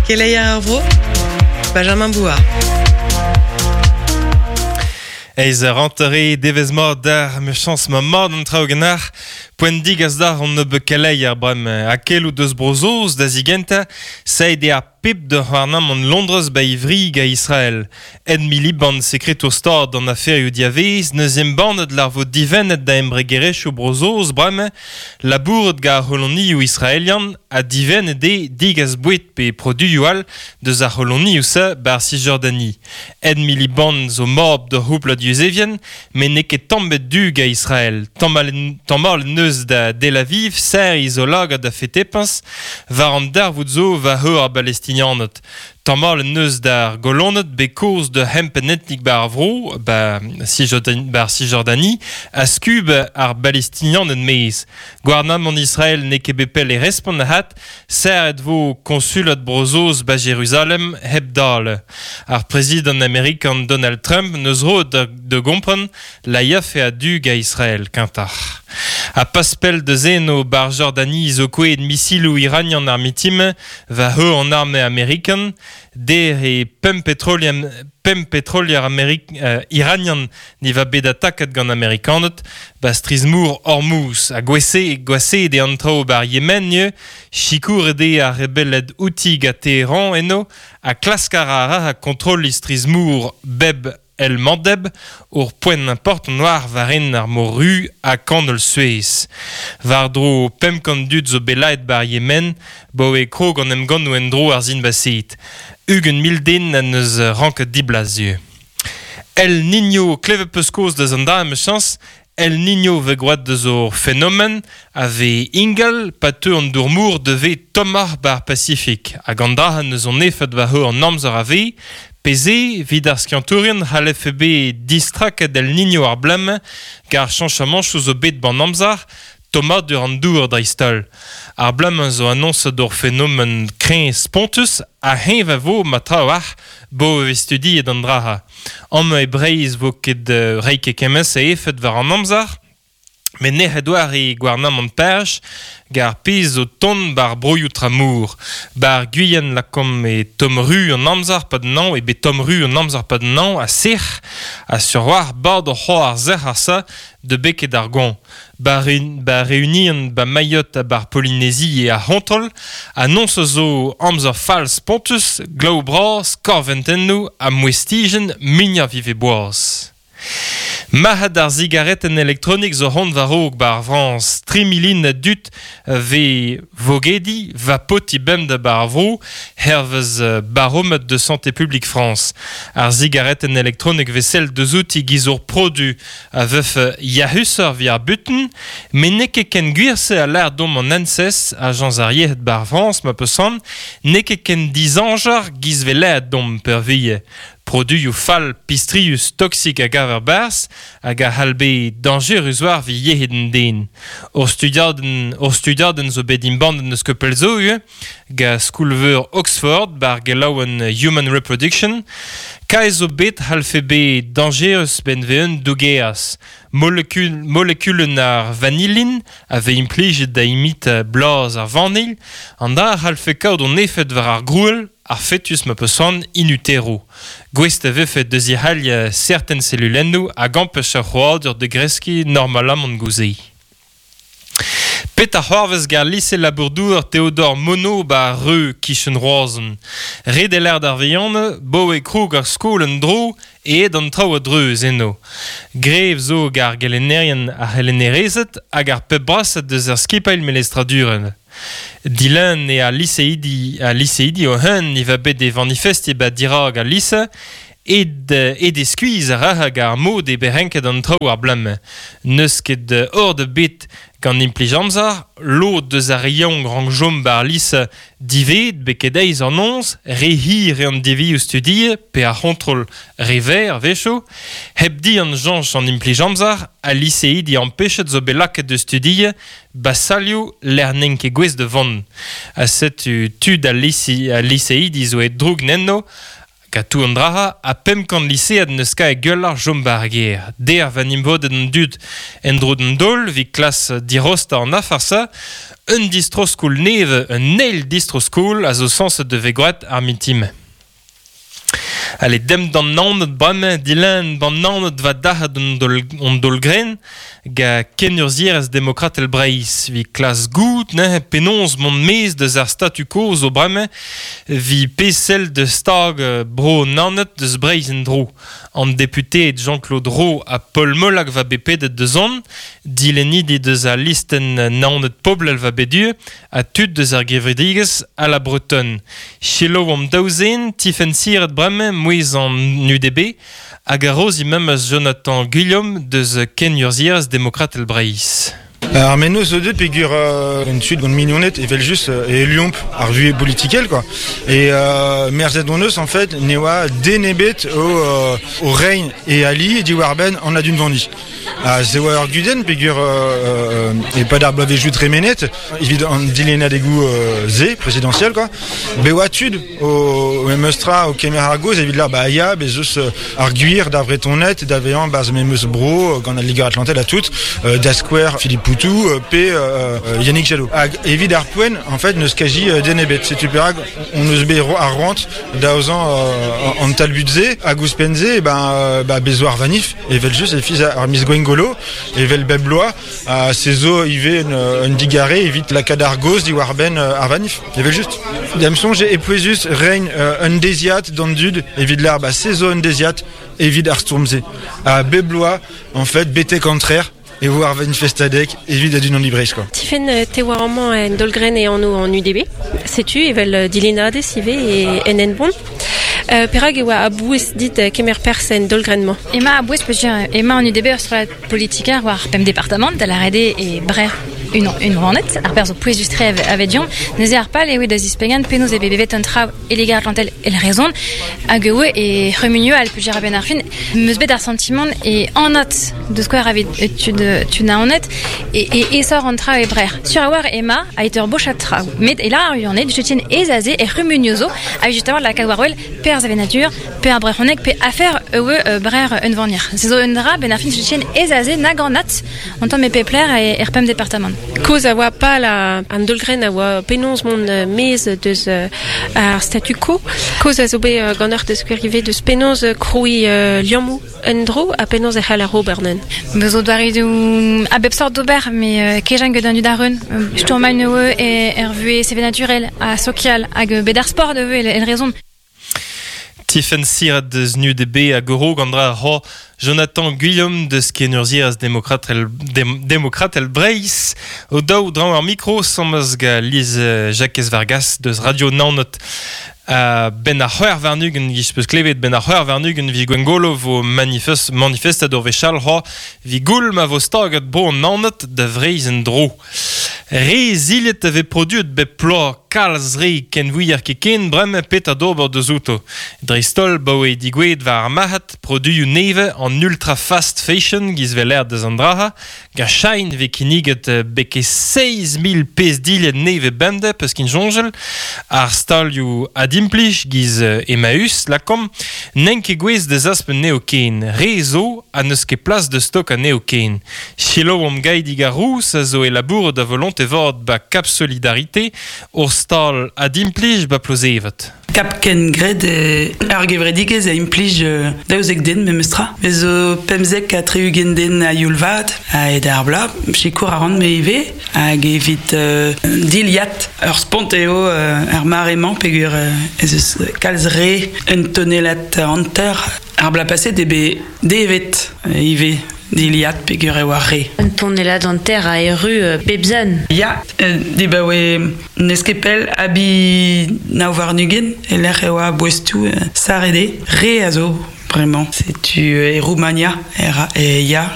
Keleier ar vro, Benjamin Bouard. Eiz rentre devezh mat d'ar mechañs ma mat an traoù ganac'h. Poent digas d'ar an nebeut keleier bremañ. Ha keloù deus Bro-Saoz da zigentañ, saet eo ar pep da c'houarnamant Londrez ba Ivrig a Israel. Ed Miliband, sekretour Stad an aferioù diavaez, 'neus embannet lar vo divennet da embregerezhioù Bro-Saoz bremañ labourat gant ar c'holonioù israelian ha divennet eo degas boued pe produioù all deus ar c'holonioù-se 'bar Cisjordanie. Ed Miliband zo mab d'ur c'houplad yuzevien met n'eo ket tamm bet du gant Israel. Tamallet 'neus da Tel Aviv serriñ zo lagad da fetepañs war an darvoud zo war eur ar Balestinianed. Tamallet 'neus d'ar goloned bet kaoz d'ur c'hempenn etnik 'ba ar vro, 'ba 'ba ar Cisjordanie, a skub ar Balestinianed maez. Gouarnamant Israel n'eo ket bet pell e respont ahat, serret 'vo koñsulad Bro-Saoz 'ba Jeruzalem hep dale. Ar prezidant amerikan Donald Trump 'neus roet da gompren la yafe a-du gant Israel kentoc'h. Ha pas pell deus eno 'bar Jordanie zo kouezhet misiloù iranian ar mitin war eur an arme amerikan der e pemp petrolier pemp petrolier amerik iranian ne va bet ataket gant Amerikaned 'ba strizh-mor Hormuz ha gwaseet eo an traoù 'bar Yemen ivez sikouret eo ar rebelled Houthi gant Teheran eno ha klask a ra ra kontrolliñ strizh-mor bep El Mandeb, ur poent important war war-enn ar Mor Ru ha kanol Suez. War-dro 500 dud zo bet laet 'bar Yemen, 'baoe krog an emgannoù en-dro ar Sinbased. 20 000 den en deus ranket diblas ivez. El Niño, klevet 'peus kaoz deus an dra emichañs, El Niño 'vez gwraet deus ur fenomen a vez ingal pa teu an dour-mor da vez tommoc'h 'ba ar Pasifik hag an dra 'neus an efed war an amzer a vez pe se evit ar skiantourien c'hallefe bet distraket El Niño ar bloaz-mañ gant ar cheñchamanchoù zo bet 'ban amzer tommadur an dour dreist-holl. Ar bloaz-mañ zo anoñset ur fenomen kreñv spontus ha heñv a vo ma trawalc'h 'bo e vez studiet an dra-se. Amañ e Breizh 'vo ket reiñ ket kement-se efed war an amzer, met nec'het oar e gouarnamant Pariz gant ar pezh zo tont 'bar broioù tramor. 'Bar Guyane lakaomp e tomm-ru an amzer 'pad an hañv, eo bet tomm-ru an amzer 'pad an hañv ha sec'h ha sur-walc'h 'bad oc'h c'hoar sec'h ar sa da beket ar goañv. Ba Reunion, ba Mayotte ha bar Polynésie eo ar c'hontrol. Annoñs zo amzer fall spontus, glav bras, korventennoù ha mouestijenn muiañ vive boaz. Marc'had ar sigaretenn elektronik zo c'hoant war-raok 'ba ar Frañs. Tri milin a dud 'vez vogediñ vapotiñ bemdez 'ba ar vro, hervez Baromètre de Santé publique France. Ar sigaretenn elektronik 'vez sellet deus outi 'giz ur produ a vefe yac'husoc'h evit ar butun, met n'eo ket ken gwir-se a lâr deomp an ANSES, ajañs ar yec'hed 'bar Frañs ma peus c'hoant, n'eo ket ken dizañjer 'giz 'vez lâret deomp peurvuiañ. Produioù fall, pistrius, toksik a gaver 'barzh hag a c'hall bezañ dañjerus war evit yec'hed an den. Ur studiadenn, ur studiadenn zo bet embannet n'eus ket pell zo ivez. Gant skol-veur Oxford 'bar gelaouenn Human Reproduction. Kae zo bet c'hallfe bezañ dañjerus 'benn 'vez un dougeaz. Molekulenn ar vanilin a vez implijet da imitañ blaz ar vanilh. An dra a c'hallfe kaout an efed war ar grouell, ar fetus ma peus c'hoant in utero. Gouest e vefe da zic'halliañ serten selulennoù hag ampech ar c'hrouadur da greskiñ normalamant gouze. Petra c'hoarvez gant lise labour-douar Théodore Monod 'ba ar Reu 'kichen Roazhon? Ret eo lâret d'ar vihanañ 'baoe krog ar skol en-dro aet an traoù a-dreuz eno. Grev zo gant ar gelennerien, ar c'helennerezed hag ar pep brasañ deus ar skipailh melestradurel. Dilun eo al liseidi al liseidi o-un e va bet é vanifestiñ 'ba dirak al lise Aet aet eo skuizh a ra hag ar mod eo bet renket an traoù ar bloaz-mañ. N'eus ket ord ebet gant implij amzer, lod deus ar re yaouank rank chom 'ba ar lise diwezhet betek deiz an noz, re hir eo an devioù studiet pe ar c'hontrol re verr a-wechoù. Hep dihan soñj an implij amzer, al liseidi ampechet zo bet lakaet da studiañ 'ba salioù lec'h n'int ket gouest da vont. Ha setu tud al liseidi zo aet droug enno. Ka tou an draha a pemp kant lisead neus ka e gueullar jom bar ger. Der va nimvodet an dud en dro d'an dol vi klas dirosta an afarsa, un distro-skol neve, un eil distro-skol a zo sanset de vegoat ar mintim. Allez, dem d'an naoned bremañ, dilen d'an naoned va dac'hat an dol gren, ga ken urzierez demokratel Breizh, vi klas gout, ne, penaos mont mez deus ar statu quo zo bremañ, vi pesel de stag bro naoned deus Breizh en dro. An député Jean-Claude Ro a Paul Molac va bepedet deus on, dilenidi deus a listen naoned poblel va bedu, a tud deus ar gevredigez a la Bretonne. Chelo am daouzen, tifen siret bremañ mouez an UDB, hag a roz memes Jonathan Guillaume deus ken urzierez demokratel Breizh. Ar menno zo deut pegur en sud gant mignonet evel just e liomp ar vue politikel quoi. Et merzet hon eus en fait ne oa denebet au rein e ali e diwar ben an adun vandi. Se oa ur gudenn pegur e pad ar bloavezhioù tremenet evit an dilennadegoù ze présidentiel quoi. Be oa tud o memes tra o kemer ar goz evit la ba ya bez eus ar gwir da vretonet da vezañ baz memes bro gant al Liger Atlantel a tout da Square Philippe Poutou pe Yannick Jadot. Hag evit ar poent en fait neus kaji denebet. Setu perak on eus bet ar roant daozañ an talbut-se hag ouzhpenn-se ben ba bezo ar vanif evel just e fiz ar miz Gwengolo evel bep bloaz a se zo ivez un digare evit lakaat ar goz diwar ben ar vanif evel just. Da'm soñj e pouezus rein un deziat d'an dud evit l'ar ba se zo un deziat evit ar stourm-se. A bep bloaz en fait betek antrer e vo ar manifestadeg evit adun an libreiz quoi. Tifen te war amañ en dolgren e anv an UDB. Setu evel dilenadez ivez e en enbon. Perak e oa a-bouez dit kemer perzh en dolgren-mañ. Ema a-bouez peogwir ema an UDB ur strollad politiker war pemp departamant da lâret eo e Brec'h un rannet, ar perzh zo pouezus-tre avedion, neuze ar pal eo da zispegan penaos e bevet an traoù e Liger Atlantel el rezon, hag eo e c'humunioù al peogwir a-benn ar fin, meus bet ar sentiment e anat deus skouer avit tud naoned e esor an traoù e Brec'h. Sur a war ema a ur bochat traoù, met e la ar uaned, jetien ez aze e c'humunioù zo, a justement lakaat war wel perzh avenadur, pe ar brezhoneg, pe afer eue brer un vanir. Se zo un dra ben ar fin jetien ez aze nag anat an tamm e pepler e er pemp departamant. Koz a oa pal an dolgren a oa penaos mont mez deus ar statu quo. Koz a zo bet gant ur deus ivez deus penaos kroui liammoù un dro a penaos e c'hall ar ober nen. Bezo zo doare a bep sort d'ober, me kejan gant an dud ar reun. Stourmañ eue e er vue sevenaturel a sokial hag bet ar sport eue el rezon. Tifen Sirat deus UDB a goro gant dra ho Jonathan Guillaume deus kenurzierez demokratel Breizh o daou draoñ ar mikro samaz ga Liz Jacques Vargas deus Radio Naoned. Ben ar c'hwec'h warn-ugent giz peus klevet ben ar c'hwec'h warn-ugent vi Gwengolo vo manifestad ur wechall ho vi goul ma vo staget bro an Naoned da Vreizh en dro. Re zilhet a vez produet bep ploaz kalz re kenvouier ket ken bremañ petra d'ober deus outo. Dreist-holl baoe digouezhet war ar marc'had produioù nevez an ultra fast fashion giz vel aer deus an draha, gant Shein vez kinniget beke 6 000 pezh dilhad nevez bemdez peus kin soñjal, ar stalioù adimplij giz Emmaüs lakomp, n'en ket gouez deus aspen neo ken. Re zo ha n'eus ket plas de stok a neo ken. Chelo om gaidig ar rous a zo e labour da volonté vord ba Cap Solidarité ur stal adimplij ba Plozevet. Kap ken gred ar gevredigez a implij daouzek den memestra. Bez zo pemzek a tre-ugent den a youl vat a ed ar bla, sikour a ran me ivez, hag evit diliat ur spont eo ar mare-mañ peogwir ez eus kalz re un tonelad hanter ar bla paset eo bet devet ivez diliat peogwir eo ar re. Un tonelad hanter a erru bep zan. Ya, dibaoe n'eus ket pell abi nav warn-ugent e lec'h e oa boestoù sarede. Re a zo, bremañ. Setu e Roumania e ya.